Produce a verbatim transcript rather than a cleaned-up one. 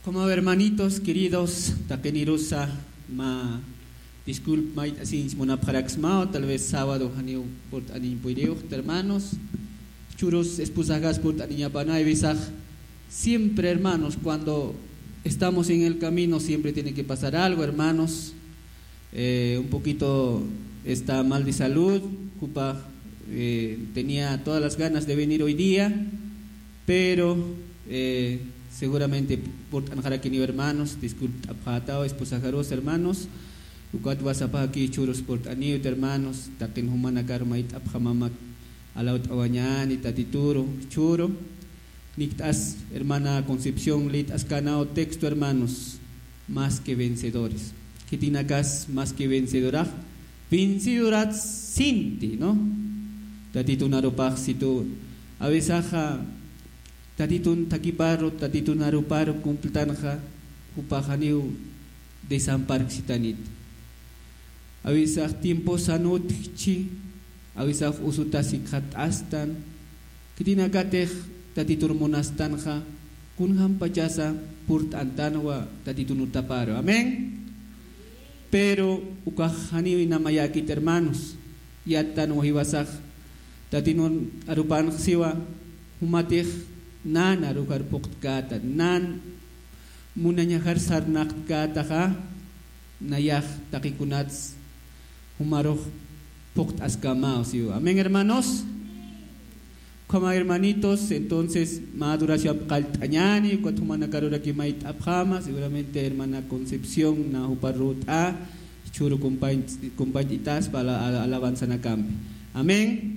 Como hermanitos queridos, taqinirusa mä disculpa mayt'asiñ munapxaraksmaw, tal vez sábado janiw purt'aniñ puyriwxta, hermanos. Churus esposagas purt'aniñapana, hay veces siempre, hermanos, cuando estamos en el camino siempre tiene que pasar algo, hermanos. Eh, un poquito está mal de salud, jupa, eh, tenía todas las ganas de venir hoy día, pero, eh, seguramente purt'anxarakiniw, hermanos, disculpt'apxätaw esposajarus, hermanos, ukat WhatsAppaki churus purt'aniwta, hermanos, taqin jumanakar mayt'apxamama, alawt'awañäni Tatituru, churu. Nikt'as hermana Concepción lït'askanaw texto, hermanos, más que vencedores. Khitinakas más que vencedorax, vencedorat sinti, ¿no? Tatitun arupax situ, a veces, Tatitun thakiparu, Tatitun aruparu cumpltanxa, jupax janiw desamparksitanit. A veces tiempo sanutchi, a veces usutas ikxat'astan, khitinakatix Tatitur munastanxa, kunjampachasa purt'antanwa Tatitun utaparu. Amén. Pero ukax janiw inamayäkit, hermanos. Yattanwa jiwasax Tatitun arupanx siwa, jumatix nan arujar phuqtkäta, nan munañajar sarnaqtkätaxa, nayax taqikunats jumarux phuqt'askamaw siwa. Amén, hermanos. Como hermanitos, entonces, mä adoración qallt'añäni, ukat jumanakaruraki mayt'apxama, seguramente hermana Concepción, na jupa rut'a, churu compañ-, compañitas, para la, la alabanzanakampi. Amén.